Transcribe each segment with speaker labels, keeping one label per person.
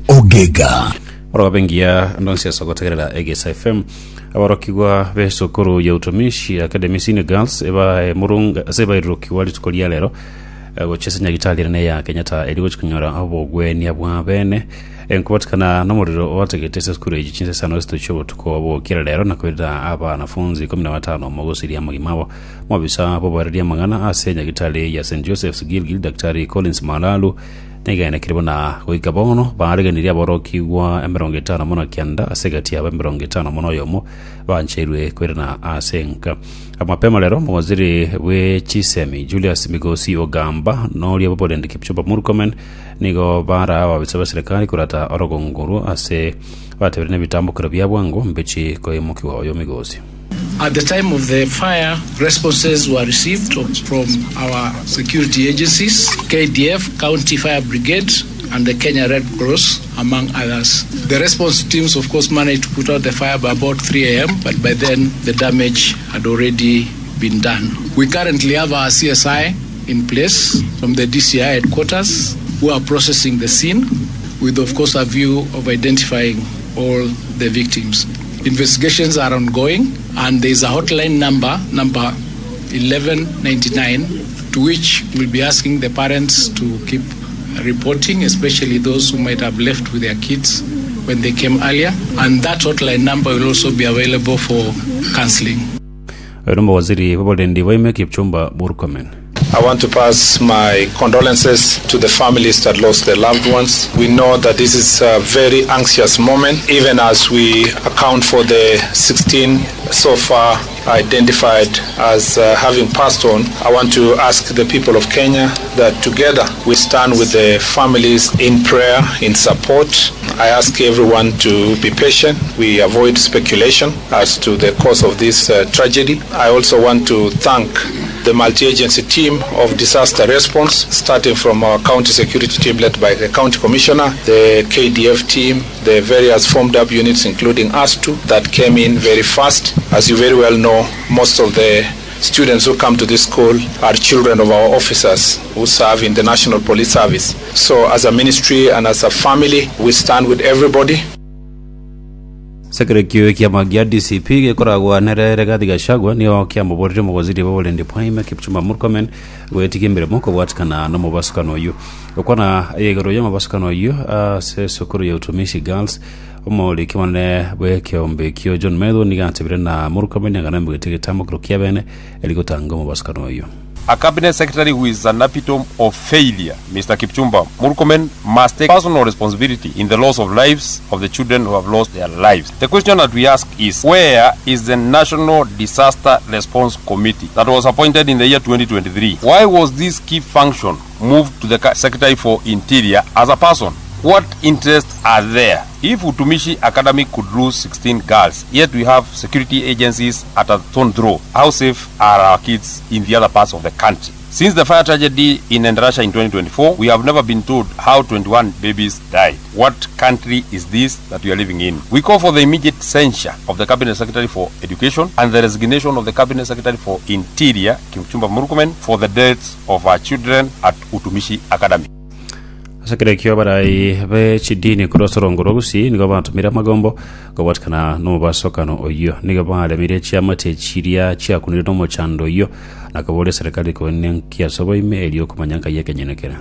Speaker 1: Ogega.
Speaker 2: Orobe engiya ndonsi ase ogotegerera Egesa FM. Aborokigwa b'esukuru ya Utumishi Academy Senior Girls ebae murunga ase bairurukigwa rituko ria rero eh, gochia ase nyagitari ere ya Kenyatta eri gochia konyora obogwenia bwa bene enkobatikana nomorero oategete ase esukuru eyi chinsa isano isatu chiobotuko bogokira rero na koirera abanafunzi ikomi na batano omo gosiria amagima abo. Omobisa bw'oboereria amang'ana ase nyagitari ya St Joseph's Gilgil Daktari Collins Malalu Negenekire buna goika bono baareganirie aborokigwa 59 ase egati yabo 51 bancheirwe koirana ase enka. Mapema rero omowaziri bwe chisemi Julius Migosi Ogamba noria bw'oborendi Kipchumba Murkomen nigo baraa ababisa ba serikali korata orogongo orwo ase batebire nebitambokero bia bwango mbichi koimokigwa oyo Migosi.
Speaker 3: At the time of the fire, responses were received from our security agencies, KDF, County Fire Brigade, and the Kenya Red Cross, among others. The response teams, of course, managed to put out the fire by about 3 a.m., but by then the damage had already been done. We currently have our CSI in place from the DCI headquarters who are processing the scene with, of course, a view of identifying all the victims. Investigations are ongoing and there is a hotline number, number 1199, to which we'll be asking the parents to keep reporting, especially those who might have left with their kids when they came earlier. And that hotline number will also be available for counseling.
Speaker 2: Oyo nomowaziri bw'oborendi bwa ime Kipchumba Murkomen.
Speaker 4: I want to pass my condolences to the families that lost their loved ones. We know that this is a very anxious moment, even as we account for the 16 so far identified as uh, having passed on. I want to ask the people of Kenya that together we stand with the families in prayer, in support. I ask everyone to be patient. We avoid speculation as to the cause of this uh, tragedy. I also want to thank the multi-agency team of disaster response, starting from our county security team led by the county commissioner, the KDF team, the various formed up units, including ASTU, that came in very fast. As you very well know, most of the students who come to this school are children of our officers who serve in the National Police Service. So as a ministry and as a family, we stand with everybody.
Speaker 2: Sekerekio ekiama gia DCP gekoragwa nere Rigathi Gachagua nigo kiamoborire omowaziri bw'oborendi bwa ime Kipchumba Murkomen goetigia emeremo kobwatikana nomobasukano oyio. Gokwana igoro y'omobasukano oyio ase esukuru ya Utumishi Girls, omoriki omonene bw'ekeombe ekio John Methu nigo atebire na Murkomen ang'ana emogete egetamokero kiabene eri gotanga omobasukano oyio.
Speaker 5: A cabinet secretary who is an epitome of failure, Mister Kipchumba Murkomen must take personal responsibility in the loss of lives of the children who have lost their lives. The question that we ask is, where is the National Disaster Response Committee that was appointed in the year 2023? Why was this key function moved to the Secretary for Interior as a person? What interests are there? If Utumishi Academy could lose 16 girls, yet we have security agencies at a stone throw, how safe are our kids in the other parts of the country? Since the fire tragedy in Endarasha in 2024, we have never been told how 21 babies died. What country is this that we are living in? We call for the immediate censure of the Cabinet Secretary for Education and the resignation of the Cabinet Secretary for Interior, Kipchumba Murkomen, for the deaths of our children at Utumishi Academy.
Speaker 2: Ase ekero ekio abarai be chidini korwa ase orongo rwa Gusii nigo batomire amagombo kobwatikana nomobasokano oyio. Nigo baremirie chiamate chiria chiakunire nomochando oyio na koboria eserekari koenia nki ase oboime erio komanya nkai ekenyene kere.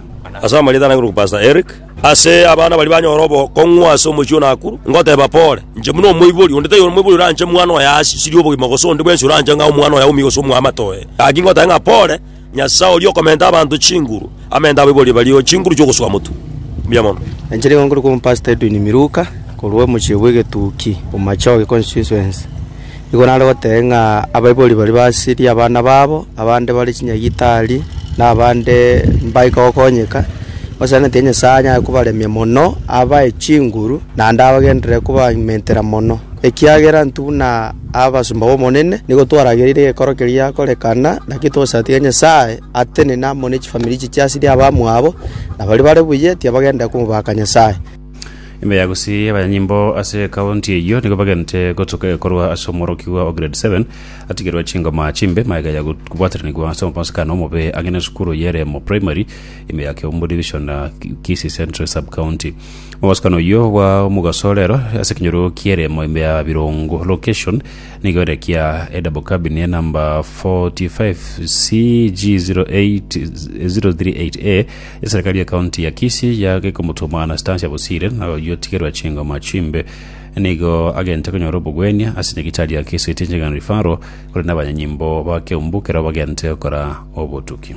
Speaker 6: Ase amarieta ane nkorokwa Pastor Eric. Ase abana baria banyora obokong'u ase omochie o Nakuru, ngoteba pore, inche buna omoibori, onde taiyo omoibori oranche mwana oye asisirie obogima gose onde bwensi oranche ng'a omwana oye aumie gose omoamate oye. Gaki ngoteba ng'a pore, Nyasae oria okomenta abanto chinguru, amente abaibori baria chinguru chi'ogosoa motwe. Mbuya mono.
Speaker 7: Inche nigo nkorokwa Omopastor Edwin Miruka, korwa omochie bw'egetuki, Bomachoge constituency. Nigo nare goteba ng'a abaibori baria basirie abana babo, abande bare chinyagitari, na abande mbaika gokonyeka, osenetie Nyasaye anyare kobaremia mono, abae chinguru, naende abagenderere kobamentera mono. Ekiagera intwe buna abasomba b'Omonene nigo twaragereire egekoro keria giakorekana, naki tosatige Nyasae atenene amo ne chifamiri echi chiasirie abamwabo, na baria bare buya tibagenderera komobaka Nyasae.
Speaker 2: Ime ya Gusii abanyanyimbo ase ekaunti eyio nigo bagente gotuka ekorwa ase omworokigwa o grade 7 atigerwe chingoma chimbe magega ya kobwateranigwa ase omobasekano omobe ang'e nesukuru y'Eremo Primary ime ya Keumbu Division na Kisii Central Sub-County. Omobasekano oyio bwa omogaso rero ase ekenyoro ki'Eremo ime ya Birongo Location nigo ere kia edouble cabin ya number 45 CG08038A Eserekari ye county ya Kisii yagekomotoma Anastasia Bosire na oyio otigerwa chingoma chimbe nigo agente konyora obogwenia ase nyagitari ya Kisii Teaching and Referral kore nabanyanyimbo ba Keumbu kero bagente gokora obotuki.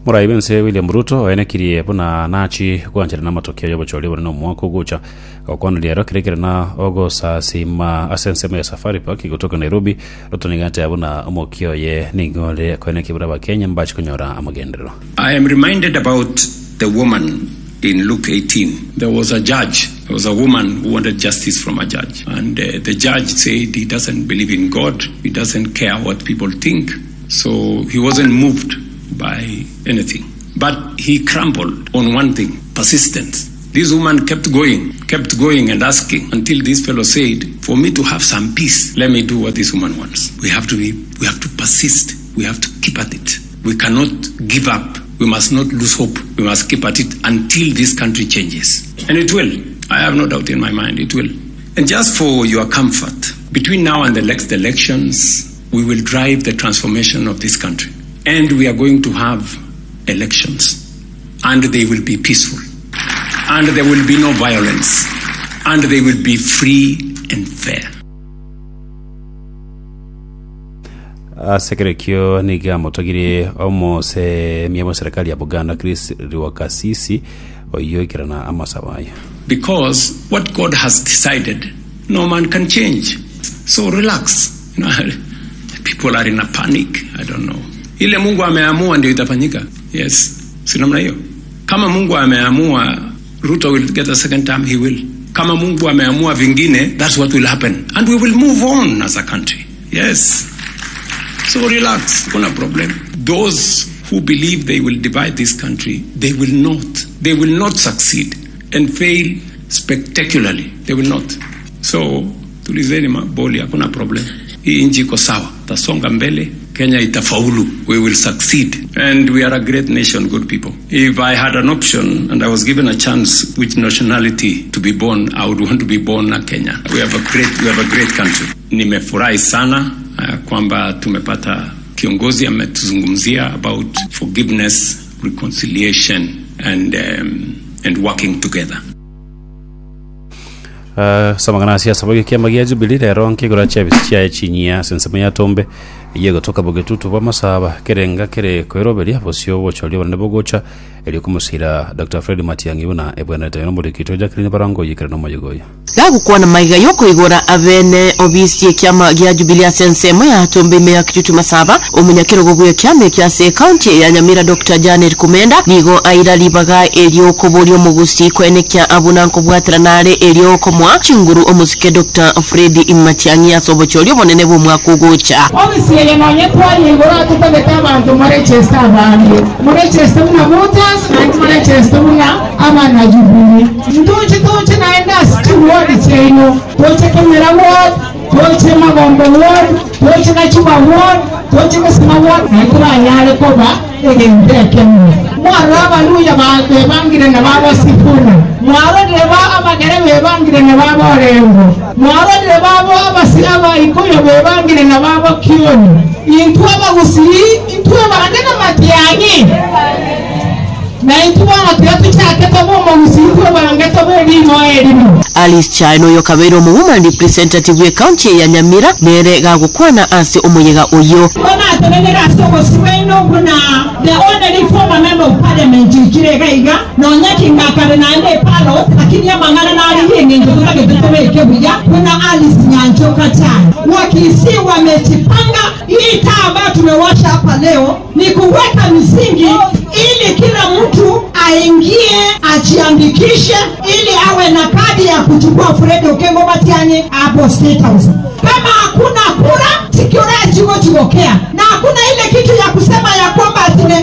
Speaker 2: Morai bw'ense William Ruto oenekirie buna nachi gwancherana amatokeo y'obochori obonene omwaka ogocha. Gokwana riaro kere kere na ogosasima ase ensemo ya Safari Park gotoka Nairobi, Ruto nigo ateba buna omokia oye nigo ore koenekia buna abakenya mbache konyora amagenderero.
Speaker 1: I am reminded about the woman in Luke 18. There was a judge, there was a woman who wanted justice from a judge. And uh, the judge said he doesn't believe in God, he doesn't care what people think. So he wasn't moved by anything. But he crumbled on one thing persistence. This woman kept going, kept going and asking until this fellow said, For me to have some peace, let me do what this woman wants. We have to be, we have to persist. We have to keep at it. We cannot give up. We must not lose hope. We must keep at it until this country changes. And it will. I have no doubt in my mind, it will. And just for your comfort, between now and the next elections, we will drive the transformation of this country. And we are going to have elections. And they will be peaceful. And there will be no violence. And they will be free and fair.
Speaker 2: Ase ekerekio nigo amotogirie omosemia bw'eserekari ya Buganda Chris Rwakasisi oyio oikerana amasabo aya.
Speaker 1: Because what God has decided, no man can change. So relax. You know, people are in a panic. I don't know. Ile Mungu ameamua ndio itafanyika. Yes. Si namna hiyo. Kama Mungu ameamua Ruto will get a second term, he will. Kama Mungu ameamua vingine, that's what will happen. And we will move on as a country. Yes. So relax, kuna problem. Those who believe they will divide this country, they will not. They will not succeed and fail spectacularly. They will not. So tulizeni maboli, hakuna problem. Hii nchi iko sawa, tasonga mbele. Kenya itafaulu. We will succeed. And we are a great nation, good people. If I had an option and I was given a chance which nationality to be born, I would want to be born a Kenyan. We have a great, we have a great country. Nimefurahi sana uh, kwamba tumepata kiongozi ametuzungumzia about forgiveness, reconciliation and, um, and working together.
Speaker 2: Ase amang'ana ase asabo ekiama gia Jubilee rero nkegora chiabisi chiaye chinyia ase ensemo ya Tombe eyio egotoka bogetutu bw'amasaba kerenga kere koeroberia bosio obochori obonene bogocha erio komosira Dr. Fred Matiang'i buna ebwenerete. Oyo nomoriki oito Jacqueline Barongo oyikire nomoyega oyo.
Speaker 8: Gagokwana maiga y'okoigora abene obisi y'ekiama gia Jubilee ase ensemo ya Tombe ime ya Kitutu Masaba, omonyakerogo bw'ekiama ekio ase ecounty ya Nyamira Doctor Janet Kumenda nigo aira ribaga erio koboria omogusii koenekia abuna nkobwaterana are erio komoa chinguru omosike Doctor Fred Matiang'i ase obochori obonene bw'omwaka ogocha.
Speaker 9: Ofisi eye nonye twaria igoro atotagete abanto morecheste abange, morecheste buna voters naende morecheste buna abana Jubilee. Ntoche toche naende ase chiward chiaino, toche Kemera ward, toche Magombo ward, toche Gachuba ward, toche Gesima ward, naende toranyare koba egento ekemo. Mwarora Abaluya bebangire na baba Sifuna, mwarorire ba Abagere bebangire na baba Orengo, mwarorire babo abasi Abaikuyu bebangire na baba Kioni. Intwe Abagusii intwe bande namatiang'i. Na intwe bono tiga tochake tobe omogusii intwe bange tobe erimo erimo.
Speaker 8: Alice Chae noyo okabeire omowoman representative bw'ecounty ya Nyamira nere gagokwana ase omoyega oyio.
Speaker 9: Bono atenenere ase obosio bwaino buna the only former member of parliament oikire iga iga, nonya ki ngakare naende epalot, lakini amang'ana nare y'eng'encho totagete tobeke buya buna Alice Nyanchoka Chae. Wakisii wamejipanga. Hii taa ambayo tumewasha hapa leo ni kuweka misingi ili kila mtu aingie ajiandikishe ili awe na kadi ya kuchukua Fred Okengo Matiang'i hapo State House. Kama hakuna kura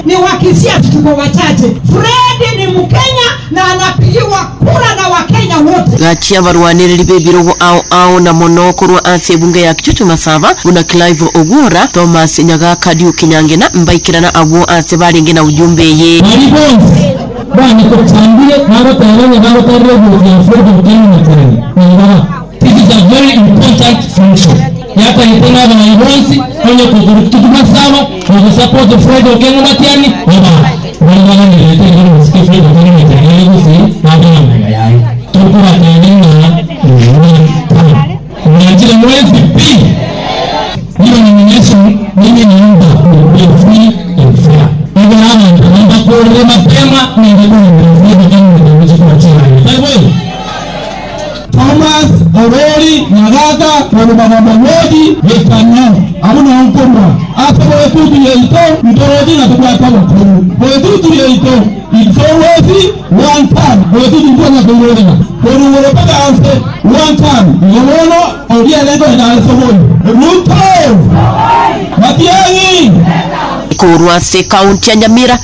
Speaker 9: Ni Wakisii tuko wachache. Fred ni Mkenya na anapigiwa kura na Wakenya wote.
Speaker 8: Gachia abarwanereri b'ebirogo ao ao na mono korwa ase ebunge ya Kitutu Masaba buna Clive Ogwora, Thomas Nyagaka, Duke Nyangena mbaikerana abwo ase barenge na ujumbe eye.
Speaker 10: Baria bonsi banyekotambire bagoteba onye bagotarire oboruoti ya Fred Otieno Matiang'i nimbaba. This is a very important function yatagete ng'a abarai bonsi onye kokorwa Kitutu Masaba ogosupport Fred Okengo Matiang'i oba baria baganerete ekero omosike Fred Okengo Matiang'i are gusii babe amaiga yaye. Tokobatebia ng'a one term. Mwanchire mwensi pi. Hiyo nomination mimi naomba ikuwe free and fair. Igo abanto mbakorere mapema ninde kogenderera Fred Okengo Matiang'i gochia kobachera aye. Tari boigo?
Speaker 11: Thomas Orori Nyagaka korwa Magombo Ward, Gĩkano, abwo nao nkorwa ase goetutu yaito ntoroche ng'a tobwate obokungu. Goetutu yaito it's always one term. Goetutu ntwanya koirorera korwa igoro mpaka anse one term. Igo bono oria ere nkoenda are Sogoi. Ruto! Matiang'i!
Speaker 8: Korwa ase ekaunti ya Nyamira,